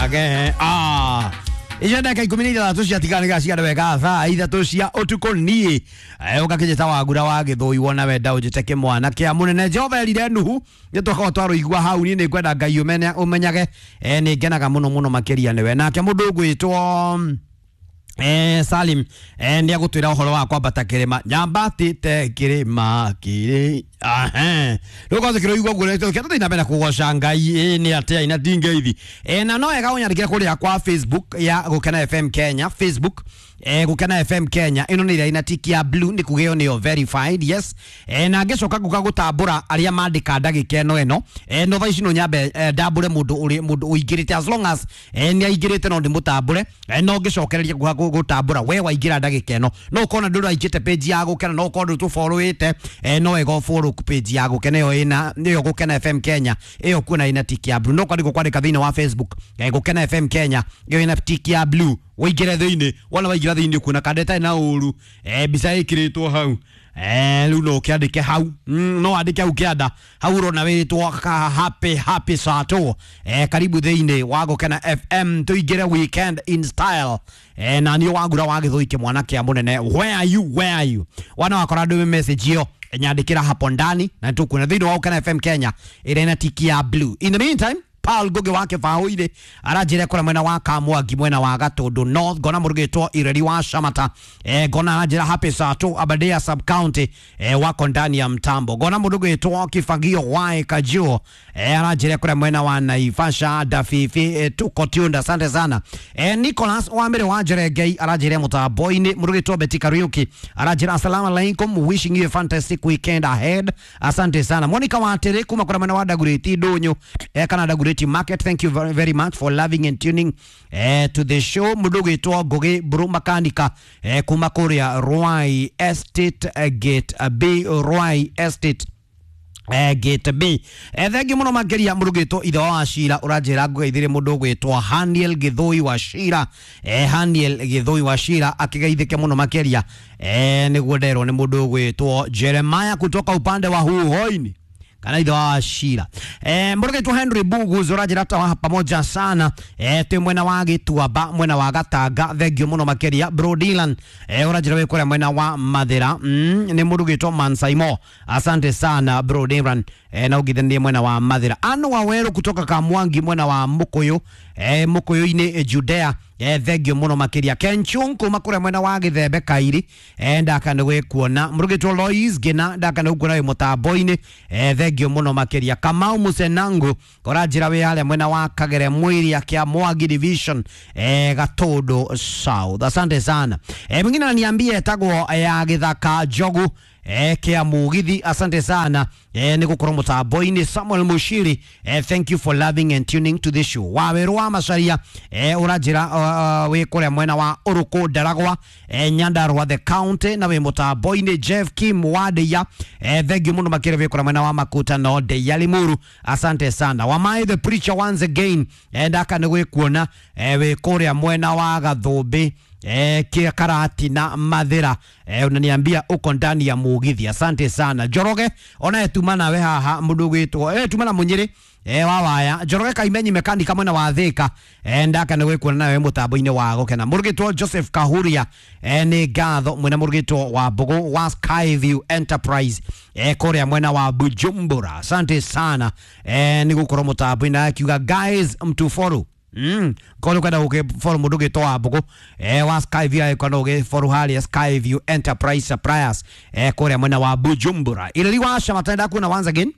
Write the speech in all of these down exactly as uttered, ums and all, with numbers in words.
Age ah icio ndagĩka ikũmi na ithathatũ ciatiganĩga ciarĩ wega thaa ithatũ cia ũtukũ niĩ ũgakĩnjĩta wagura wa gĩthũi wona wenda ũnjĩte kĩmwana kĩa mũnene. Jehova erire Nuhu nĩ twakorwo twarũigua hau. Niĩ nĩ ngwenda Ngai ũmenyage nĩ ngenaga mũno mũno makĩria nĩwe. Nake mũndũ ũgwĩtwo Eh, Salim eh, nĩ agũtwĩra ũhoro wa kwambata kĩrĩma nyambatĩte kĩrĩma kĩrĩ ahe rĩu kwanza kĩroigua ũguo kĩrĩa tũthiĩ na mbere kũgoca Ngai ĩ nĩ atĩa ina ndingeithi eh, na no wega ũnyandĩkĩre kũrĩa kwa Facebook ya Gũkena F M Kenya. Facebook eh, Gũkena F M Kenya ĩno nĩ ĩrĩa ina tiki ya blue nĩ kuga ĩyo nĩyo verified yes. eh, na ngĩcoka nguka gũtambũra arĩa mandĩka ndagĩka ĩno ĩno eh, no thaa ici no nyambe eh, ndambũre mũndũ ũrĩ mũndũ ũingĩrĩte as long as eh, nĩ aingĩrĩte no ndĩmũtambũre eh, no ngĩcokereria nguka gũtambũra we waingĩra ndagĩka ĩno no ũkona ndũrĩ waingĩte page ya Gũkena no ũkorwo ndũtũfollowĩte eh, no wega ũfollow page ya Gũkena ĩyo ĩna nĩyo Gũkena F M Kenya ĩyo kuona ina tiki ya blue no kwandĩkwo kwandĩka thĩinĩ wa Facebook eh, Gũkena F M Kenya ĩyo ina tiki ya blue waingĩre thĩinĩ wona waingĩra thĩinĩ kuona kanda ĩtarĩ na ũru eh, mbica ĩkĩrĩtwo hau eh, rĩu no ũkĩandĩke hau mm, no andĩke hau kĩanda hau ũrona wĩtwo happy happy sato eh, karibu thĩinĩ wa Gũkena F M tũingĩre weekend in style eh, na niĩ wagura wa gĩthũi kĩmwana kĩa mũnene. Where are you, where are you wana wakora ndũme message ĩyo nyandĩkĩra hapo ndani na nĩtũkuona thĩinĩ wa Gũkena F M Kenya ĩrĩa ina tiki ya blue. In the meantime Paul Ngugi wa Kĩbaũ-inĩ aranjĩra kũrĩa mwena wa Kamwangi mwena wa Gatũndũ North ngona mũrugĩtwo Ireri wa Shamata eh, ngona aranjĩra happy Sato Aberdare sub county eh, wako ndani ya mtambo. Ngona mũrugĩtwo Kibagio wa Kajuo eh, aranjĩra kũrĩa mwena wa Naivasha Dafifi eh, tuko tuned asante sana eh, Nicholas wa Mbere wa Njerengei aranjĩra mũtambo-inĩ. Mũrugĩtwo Betty Kariuki aranjĩra assalamu alaikum wishing you a fantastic weekend ahead asante sana. Monica Watere kuma kũrĩa mwena wa Dagoretti Ndũnyũ eh, kana Dagoretti Market, thank you very, very much for loving and tuning eh, to the show. Mũndũ ũgwĩtwo Ngugi Mburu Makanika eh, kuma kũrĩa Ruai Estate eh, Gate B Ruai Estate eh, Gate B eh, thengi mũno makĩria mũrugĩtwo ithe wa Shira ũranjĩra ngũgeithĩrie mũndũ ũgwĩtwo Haniel Gĩthũi wa Shira eh, Haniel Gĩthũi wa Shira akĩgeithĩke mũno makĩria eh, nĩguo nderwo nĩ mũndũ ũgwĩtwo Jeremiah kutoka upande wa Huhoini kana ithe wa Shira eh, mũrugĩtwo Henry Bugu ũranjĩra ta pamoja sana eh, twĩ mwena wa Gĩtuamba mwena wa Gatanga thengio mũno makĩria. Bro Dylan eh, ũranjĩra wĩ kũrĩa mwena wa Mathĩra mm, nĩ mũrugĩtwo Mansaimo asante sana Bro Dylan eh, na ũngithanie mwena wa Mathĩra. Anu wa Weru kutoka Kamwangi mwena wa Mũkũyũ eh, Mũkũyũ-inĩ Judea eh, thengio mũno makĩria. Kenchung kuma kũrĩa mwena wa Gĩthembe Kairi eh, ndaka nĩ gwĩkuona. Mũrugĩtwo Lois Ngina ndaka nĩ gũkuona wĩ mũtambo-inĩ eh, thengio mũno makĩria. Kamau Musenangu ũranjĩra wĩ harĩa mwena wa Kagere Mwiria kĩa Mwangi division eh, Gatũndũ South asante sana eh, mwingine ananiambia etagwo ya Gĩthaka Njogu eh, kĩa Mugithi asante sana eh, nĩ gũkorwo mũtambo-inĩ. Samuel Mushiri eh, thank you for loving and tuning to the show. Wawerũ wa Macaria eh, ũranjĩra uh, wĩ kũrĩa mwena wa Ũrũkũ Ndaragwa eh, Nyandarua the county na wĩ mũtambo-inĩ. Jeff Kim Wadeya eh, thank you mũno makĩria wĩ kũrĩa mwena wa Makuta no Ndeya Limuru asante sana. Wamai the preacher once again eh, ndaka nĩ gwĩkuona eh, wĩ kũrĩa mwena wa Gathũmbĩ eh, kia Karati na Mathira eh, unaniambia uko ndani ya Mugithi asante sana. Njoroge ona etuma nawe haha mũndũ ũgwĩtwo eh, tuma na Mũnyĩrĩ eh, wa waya Njoroge Kaimenyi mekanika mwena wa Thika eh, ndaka nĩ gwĩkuona nawe mũtambo-inĩ wa Gũkena. Mũrugĩtwo Joseph Kahuria eh, nĩ ngatho mwena mũrugĩtwo wa Mbũgũ wa Skyview Enterprise eh, kũrĩa mwena wa Bujumbura asante sana eh, nĩ gũkorwo mũtambo-inĩ akiuga guys mtufollow Mm. Kono kwenda ũgĩfollow mũndũ ũgĩtwo wa Mbũgũ eh, wa Skyview agĩkorwo ũgĩfollow harĩa Skyview Enterprise Suppliers eh, kũrĩa mwena wa Bujumbura. Ireri wa Shamata ndakuona once again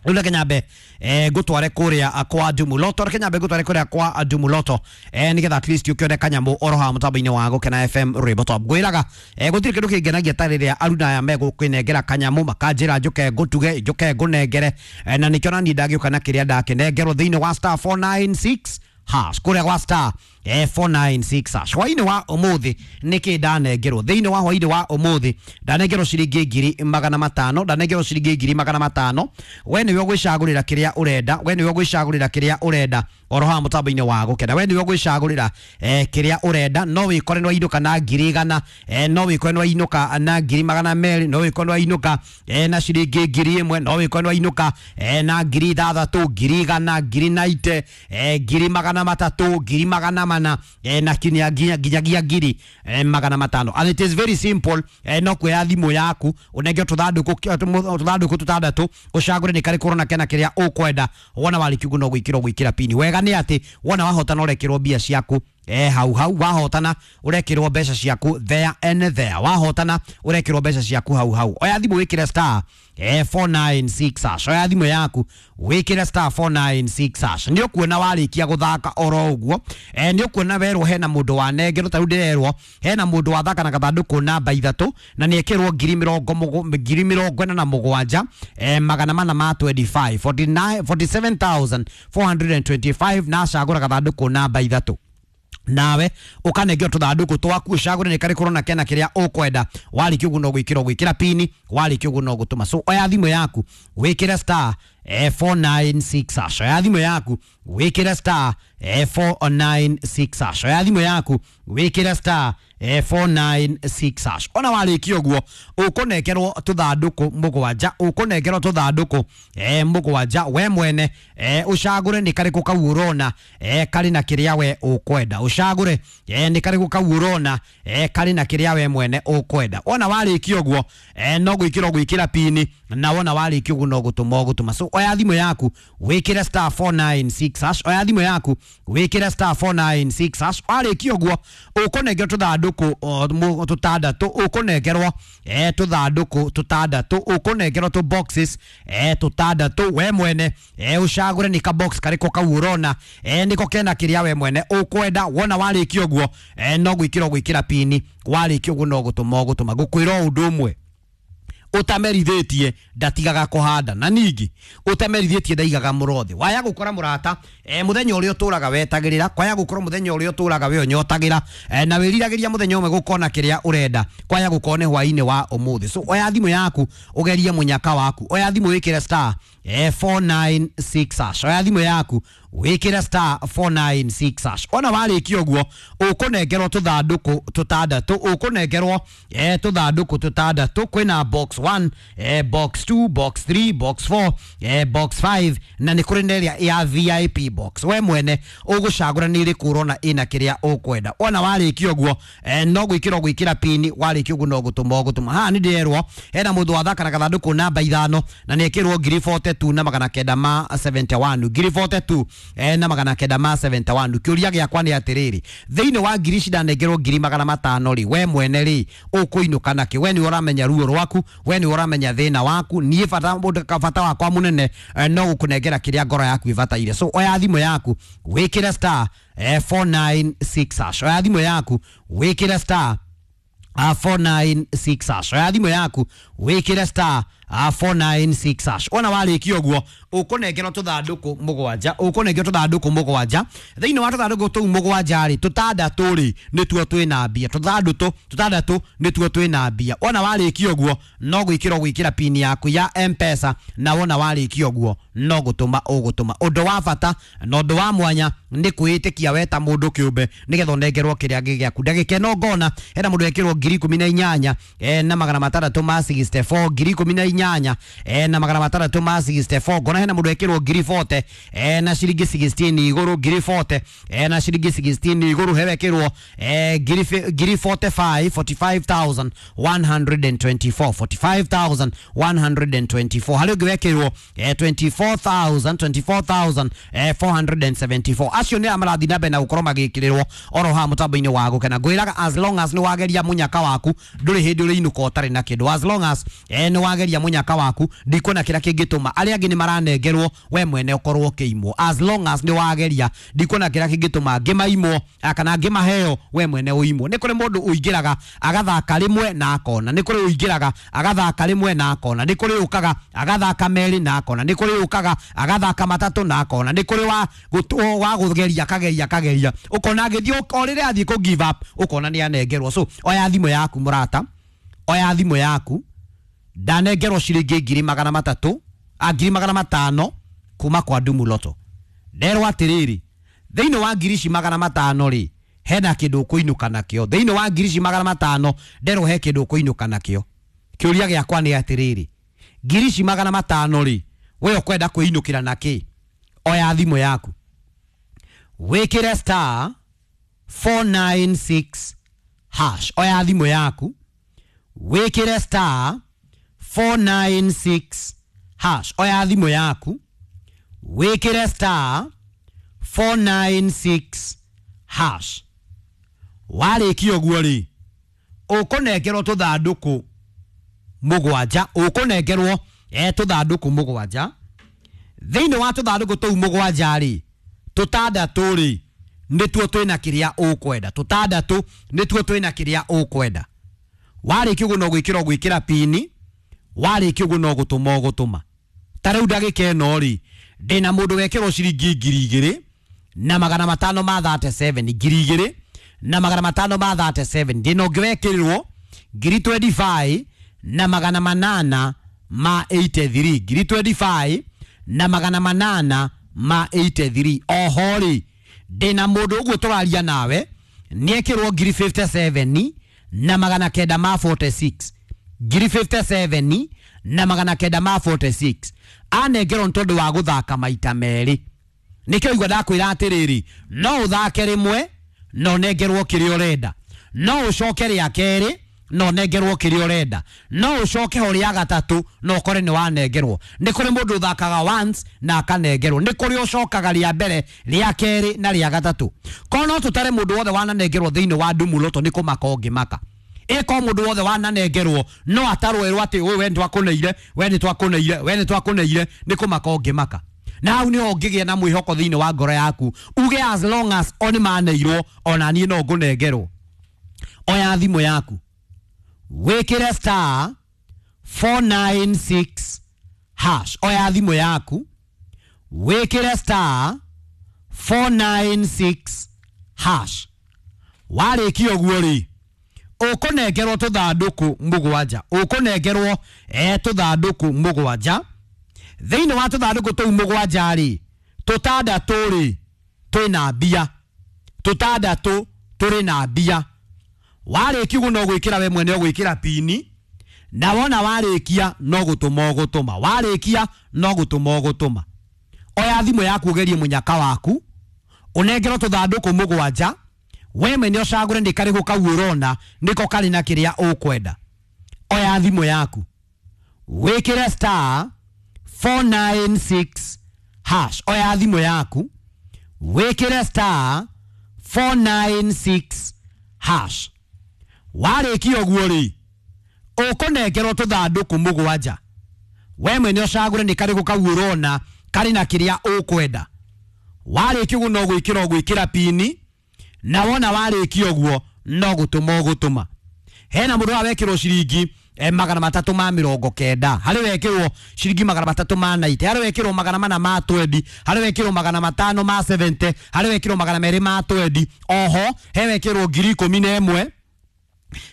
rĩu reke nyambe eh, ngũtware kũrĩa kwa Ndumuloto reke nyambe ngũtware kũrĩa kwa Ndumuloto eh, nĩgetha at least ũkĩone kanyamũ oro haha mũtambo-inĩ wa Gũkena F M Rwĩmbo Top. Ngwĩraga eh, gũtirĩ kĩndũ kĩngenagia ta rĩrĩa aruna aya megũkĩnengera kanyamũ makanjĩra njũke ngũtuge njũke ngũnengere eh, na nĩkĩo naniĩ ndagĩũka na kĩrĩa ndakĩnengerwo thĩinĩ wa star four nine six hash kũrĩa gwa star eh, four nine six hash. Hwainĩ wa ũmũthĩ nĩkĩ ndanengerwo? Thĩinĩ wa hwainĩ wa ũmũthĩ ndanengerwo ciringi ngiri magana matano, ndanengerwo ciringi ngiri magana matano. We nĩwe ũgwĩcagũrĩra kĩrĩa ũrenda, we nĩwe ũgwĩcagũrĩra kĩrĩa ũrenda oro haha mũtambo-inĩ wa gũkena. We nĩwe ũgwĩcagũrĩra eh, kĩrĩa ũrenda. No wĩkore nĩ wainũka na ngiri igana, eh, no wĩkore nĩ wainũka na ngiri magana merĩ, no wĩkore nĩ wainũka eh, na ciringi ngiri ĩmwe, no wĩkore nĩ wainũka eh, na ngiri ithathatũ, ngiri igana, ngiri naite, eh, ngiri magana matatũ, ngiri magana mana, eh, na kinya nginyagia ngiri eh, magana matano. And it is very simple. eh, no kuoya thimũ yaku ũnenge tũthandũkũ tũthandũkũ tũtandatũ, ũcagũre nĩ karĩkũ ũrona kena kĩrĩa ũkwenda. Wona warĩkia ũguo no gwĩkĩra ũgwĩkĩra pini. Wega nĩ atĩ wona wahotana ũrekĩrwo mbia ciaku eh, hau hau. Wahotana ũrekĩrwo mbeca ciaku there and there. Wahotana ũrekĩrwo mbeca ciaku hau hau. Oya thimũ wĩkĩre star eh, four nine six hash. Oya thimũ yaku wĩkĩre star four nine six hash. Nĩ ũkuona warĩkia gũthaka oro ũguo, eh, nĩ ũkuona werwo hena mũndũ wanengerwo. Ta rĩu ndĩrerwo hena mũndũ wathaka na gathandũkũ namba ithatũ na nĩ ekĩrwo ngiri mĩrongo ngiri mĩrongo ĩna na mũgwanja eh, magana mana ma twenty five, forty nine, forty seven thousand four hundred and twenty five, na acagũra gathandũkũ namba ithatũ. Nawe ukanengeo tuthanduku twaku ucagure ni karĩkũ ũrona kena kĩrĩa ũkwenda. Warĩkia ũguo no gwĩkĩra ũgwĩkĩra pini, warĩkia ũguo no gũtũma. So oya thimũ yaku wĩkĩre star eh, four nine six hash. Oya thimũ yaku wĩkĩre star eh, four nine six hash. Oya thimũ yaku wĩkĩre star eh, four nine six hash. Ona warĩkia ũguo ũkũnengerwo tũthandũkũ mũgwanja, ũkũnengerwo tũthandũkũ eh, mũgwanja. We mwene eh, ũcagũre nĩ karĩkũ kau ũrona eh, karĩ na kĩrĩa we ũkwenda. Ũcagũre eh, nĩ karĩkũ kau ũrona eh, karĩ na kĩrĩa we mwene ũkwenda. Ona warĩkia ũguo eh, no gwĩkĩra ũgwĩkĩra pini, na wona warĩkia ũguo no gũtũma ũgũtũma. So oya thimũ yaku wĩkĩre star four nine six hash. Oya thimũ yaku wĩkĩre star four nine six hash. Warĩkia ũguo ũkũnengerwo tũthandũkũ tũtandatũ, ũkũnengerwo eh, tũthandũkũ tũtandatũ, ũkũnengerwo tũ boxes eh, tũtandatũ. We mwene eh, ũcagũre nĩ ka box karĩkũ kau ũrona eh, nĩko kena kĩrĩa we mwene ũkwenda. Wona warĩkia ũguo eh, no gwĩkĩra ũgwĩkĩra pini, warĩkia ũguo no gũtũma ũgũtũma. Ngũkwĩra ũndũ ũmwe, ũtamerithĩtie ndatigaga kũhanda, na ningĩ ũtamerithĩtie ndaigaga mũrothi. Waya gũkora mũrata eh, mũthenya ũrĩa ũtũraga wetagĩrĩra, kwaya gũkorwo mũthenya ũrĩa ũtũraga we ũnyotagĩra eh, na wĩriragĩria mũthenya ũmwe gũkona kĩrĩa ũrenda, kwaya gũkorwo nĩ hwainĩ wa ũmũthĩ. So oya thimũ yaku ũgerie mũnyaka waku. Oya thimũ wĩkĩre star eh, four nine six hash. Oya thimũ yaku wĩkĩre star four nine six hash. Ona warĩkia ũguo ũkũnengerwo tũthandũkũ tũtandatũ, ũkũnengerwo eh, tũthandũkũ tũtandatũ. Kwĩna box one, eh, box two, box three, box four, eh, box five, na nĩ kũrĩ na ĩrĩa ya V I P box. We mwene ũgũcagũra nĩ ĩrĩkũ ũrona ĩna kĩrĩa ũkwenda. Ona warĩkia ũguo eh, no gwĩkĩra ũgwĩkĩra pini, warĩkia ũguo no gũtũma ũgũtũma. Haha nĩ ndĩrerwo hena mũndũ wathaka na gathandũkũ namba ithano na nĩ ekĩrwo ngiri forty two na magana kenda ma seventy one, ngiri forty two eh, na magana kenda ma seventy one. Kĩũria gĩakwa nĩ atĩrĩrĩ, thĩinĩ wa ngiri ici ndanengerwo ngiri magana matano rĩ, we mwene rĩ ũkũinũka nakĩ? We nĩwe ũramenya ruo rwaku, we nĩwe ũramenya thĩna waku. Niĩ bata bata wakwa mũnene eh, no gũkũnengera kĩrĩa ngoro yaku ĩbataire. So oya thimũ yaku wĩkĩre star eh, four nine six hash. Oya thimũ yaku wĩkĩre star uh, four nine six hash. Oya thimũ yaku wĩkĩre star uh, four nine six hash. Ona warĩkia ũguo ũkũnengerwo tũthandũkũ mũgwanja, ũkũnengerwo tũthandũkũ mũgwanja. Thĩinĩ wa tũthandũkũ tũu mũgwanja rĩ, tũtandatũ rĩ nĩtuo twĩna mbia, tũthandũtũ tũtandatũ nĩtuo twĩna mbia. Ona warĩkia ũguo no gwĩkĩra ũgwĩkĩra pini yaku ya M-Pesa, na wona warĩkia ũguo no gũtũma ũgũtũma. Ũndũ wa bata na ũndũ wa mwanya nĩ kwĩĩtĩkia we ta mũndũ kĩũmbe nĩgetha ũnengerwo kĩrĩa gĩaku. Ndagĩka ĩno ngona hena mũndũ ekĩrwo ngiri ikũmi na inyanya eh, na magana matandatũ ma sixty four, ngiri ikũmi na inyanya eh, na magana matandatũ ma sixty four. Ngona hena mũndũ ekĩrwo ngiri forty eh, na ciringi sixteen igũrũ, ngiri forty eh, na ciringi sixteen igũrũ. Hewekĩrwo eh, ngiri ngiri forty five, forty five thousand one hundred and twenty four, forty five thousand one hundred and twenty four. Harĩ ũngĩ wekĩrwo eh, twenty four thousand, twenty four thousand eh, four hundred and seventy four. Acio nĩ marathiĩ na mbere na gũkorwo magĩkĩrĩrwo oro haha mũtambo-inĩ wa gũkena. Ngwĩraga as long as nĩ wageria mũnyaka waku ndũrĩ hĩndĩ ũrĩinũka ũtarĩ na kĩndũ. As long as eh, nĩ wageria munyaka waku, ndikuona kĩrĩa kĩngĩtũma arĩa angĩ nĩ maranengerwo we mwene ũkorwo ũkĩimwo. As long as nĩ wageria, ndikuona kĩrĩa kĩngĩtũma ngĩmaimwo kana ngĩmaheo we mwene ũimwo. Nĩ kũrĩ mũndũ ũingĩraga agathaka rĩmwe na akona, nĩ kũrĩ ũingĩraga agathaka rĩmwe na akona, nĩ kũrĩ ũkaga agathaka merĩ na akona, nĩ kũrĩ ũkaga agathaka matatũ na akona, nĩ kũrĩ wa gũtu- wa kũgeria akageria akageria, ũkona agĩthiĩ o rĩrĩa athiĩ kũ give up ũkona nĩ anengerwo. So oya thimũ yaku mũrata, oya thimũ yaku. Ndanengerwo ciringi ngiri magana matatũ a ngiri magana matano kuma kwa Dumu Lotto. Nderwo atĩrĩrĩ, thĩinĩ wa ngiri ici magana matano rĩ, hena kĩndũ ũkũinũka nakĩo. Thĩinĩ wa ngiri ici magana matano nderwo he kĩndũ ũkũinũka nakĩo. Kĩũria gĩakwa nĩ atĩrĩrĩ, ngiri ici magana matano rĩ, we ũkwenda kwĩinũkĩra nakĩ? Oya thimũ yaku wĩkĩre star four nine six hash. Oya thimũ yaku wĩkĩre star four nine six hash. Oya thimũ yaku wĩkĩre star four nine six hash. Warĩkia ũguo rĩ, ũkũnengerwo tũthandũkũ mũgwanja, ũkũnengerwo eh tũthandũkũ mũgwanja. Thĩinĩ wa tũthandũkũ tũu mũgwanja rĩ, tũtandatũ rĩ nĩtuo twĩna kĩrĩa ũkwenda, tũtandatũ nĩtuo twĩna kĩrĩa ũkwenda. Warĩkia ũguo no gwĩkĩra ũgwĩkĩra pini, warĩkia ũguo no gũtũma ũgũtũma. Ta rĩu ndagĩka ĩno rĩ, ndĩna mũndũ wekĩrwo ciringi ngiri igĩrĩ na magana matano ma thirty seven, ngiri igĩrĩ na magana matano ma thirty seven. Ndĩna ũngĩ wekĩrirwo ngiri twenty five na magana manana ma eighty three, ngiri twenty five na magana manana ma eighty three. Oho rĩ, ndĩna mũndũ ũguo tũraria nawe nĩekĩrwo ngiri fifty seven na magana kenda ma forty six, ngiri fifty seven na magana kenda ma forty six. Anengerwo nĩ tondũ wa gũthaka maita merĩ. Nĩkĩo igua ndakwĩra atĩrĩrĩ, no ũthake rĩmwe na ũnengerwo kĩrĩa ũrenda, no ũcoke rĩa kerĩ na ũnengerwo kĩrĩa ũrenda, no ũcoke ho rĩa gatatũ na ũkore nĩ wanengerwo. Nĩ kũrĩ mũndũ ũthakaga once na akanengerwo, nĩ kũrĩ ũcokaga rĩa mbere, rĩa kerĩ na rĩa gatatũ. Korwo no tũtare mũndũ wothe wananengerwo thĩinĩ wa Dumu Lotto nĩ kũmaka ũngĩmaka. Ĩko mũndũ wothe wananengerwo no atarwo erwo atĩ ũyũ we nĩtwakũneire, we nĩtwakũneire, we nĩtwakũneire, nĩ kũmaka ũngĩmaka. Na hau nĩho ũngĩgĩa na mwĩhoko thĩinĩ wa ngoro yaku, uge as long as o nĩmaneirwo ona niĩ no ngũnengerwo. Oya thimũ yaku wĩkĩre star four nine six hash. Oya thimũ yaku wĩkĩre star four nine six hash. Warĩkia ũguo rĩ, ũkũnengerwo tũthandũkũ mũgwanja, ũkũnengerwo eh tũthandũkũ mũgwanja. Thĩinĩ wa tũthandũkũ tũu mũgwanja rĩ, tũtandatũ rĩ twĩna mbia, tũtandatũ tũrĩ na mbia. Warĩkia ũguo no gwĩkĩra we mwene ũgwĩkĩra pini, na wona warĩkia no gũtũma ũgũtũma, warĩkia no gũtũma ũgũtũma. Oya thimũ yaku ũgerie mũnyaka waku, ũnengerwo tũthandũkũ mũgwanja, we mwene ũcagũre nĩ karĩkũ kau ũrona nĩko karĩ na kĩrĩa ũkwenda. Oya thimũ yaku wĩkĩre star four nine six hash. Oya thimũ yaku wĩkĩre star four nine six hash. Warĩkia ũguo rĩ, ũkũnengerwo tũthandũkũ mũgwanja, we mwene ũcagũre nĩ karĩkũ kau ũrona karĩ na kĩrĩa ũkwenda. Warĩkia ũguo no gwĩkĩra ũgwĩkĩra pini, na wona warĩkia ũguo no gũtũma ũgũtũma. Hena mũndũ wekĩrwo ciringi eh, magana matatũ ma mĩrongo kenda, harĩ wekĩrwo ciringi magana matatũ ma ninety, harĩ wekĩrwo magana mana ma twenty, harĩ wekĩrwo magana matano ma seventy, harĩ wekĩrwo magana merĩ ma twenty, oho he wekĩrwo ngiri ikũmi na ĩmwe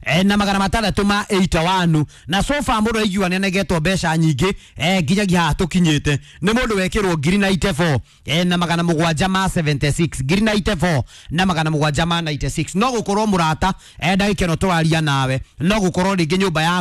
eh, na magana matandatũ ma eighty one. Na so far mũndũ aigua nĩanegetwo mbeca nyingĩ eh, nginyagia haha tũkinyĩte nĩ mũndũ wekĩrwo ngiri ninety four eh, na magana mũgwanja ma seventy six, ngiri ninety four na magana mũgwanja ma ninety six. No gũkorwo mũrata eh, ndagĩka ĩno tũraria nawe, no gũkorwo rĩngĩ nyũmba yaku